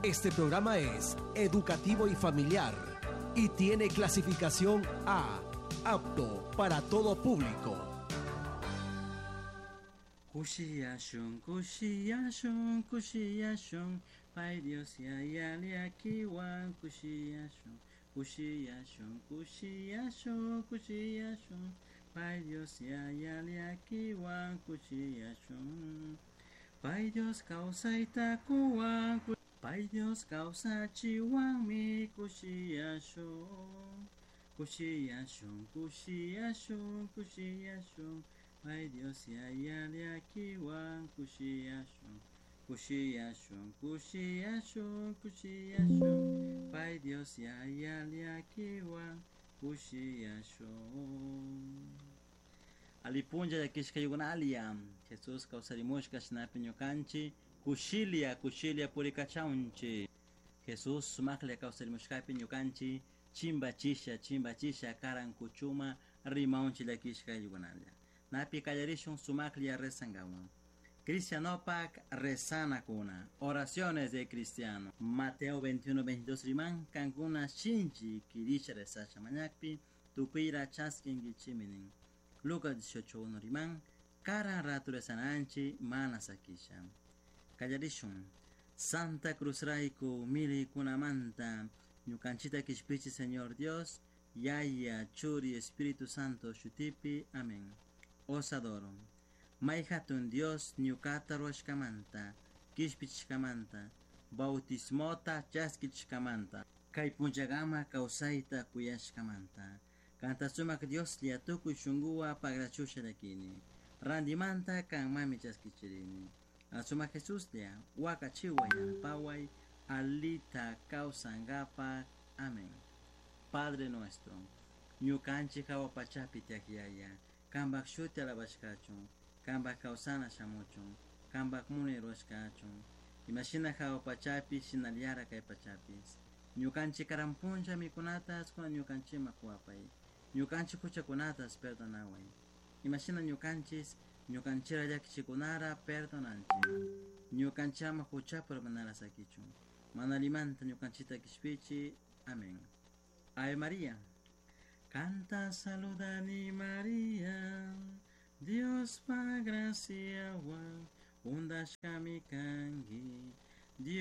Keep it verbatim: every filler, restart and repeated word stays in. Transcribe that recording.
Este programa es educativo y familiar y tiene clasificación A, apto para todo público. Kushiyashun, kushiyashun, kushiyashun, Pay Dios yaya llakiwan kushiyashun, kushiyashun, kushiyashun, kushiyashun, Pay Dios yaya llakiwan kushiyashun. Pay Dios kawsayta kuwan, Pay Dios kawsachiwanmi kushiyashun, kushiyashun, kushiyashun, kushiyashun, Pay Dios yaya llakiwan kushiyashun, kushiyashun, kushiyashun, kushiyashun, Pay Dios yaya llakiwan kushiyashun. Alipunlla llakishkaykunalia Jesús kawsarimushka shinapi ñukanchik kushilia kushilia purikachaunchik Jesús sumaklla kawsarimushkapi ñukanchik chimbachisha chimbachisha karan kuchuma rimaunchik llakishkaykunalla. Napi kallarishun sumaklla rezankawan. Cristianopak rezanakuna. Oraciones de cristiano. Mateo veintiuno veintidós riman kankuna shinchi kirisha rezasha mañakpi tukuyra chaskinkichiminin. Lucas dieciocho uno riman karan ratu rezananchi mana sakisha. Kallarishun. Santa Cruz rayku milikunamanta ñukanchita kishpichi Señor Dios, Yaya, Churi, Espíritu Santo shutipi. Amén. Os adoro. May hatun Dios ñukata ruwashkamanta, kishpichishkamanta, bautismota chaskichishkamanta, kay punllakama kawsayta kuyashkamanta. Kanta sumak Dioslla tukuy shunkuwa pagrachusha llakini. Randimanta kanmami chaskichirini. Sumak Jesuslla wakachiway yanapaway alita kawsankapak. Amén. Padre nuestro, ñukanchik hawa pachapi tiyak Yaya, kanpak shuti alabashkachun, kanpak kawsana shamuchun, kanpak munay ruwashkachun, imashina hawa pachapi shinallara kay pachapis. Ñukanchik karan punlla mikunatas kunan ñukanchikman kuwapay, ñukanchik huchakunatas perdonaway, imashina ñukanchis ñukanchira llakichikunara perdonanchik, ñukanchama huchapura manara sakichun, mana limanta ñukanchita kishpichi. Amén. Ave María. Canta saludani María, Dios pa gracia wan, undashkami kanki,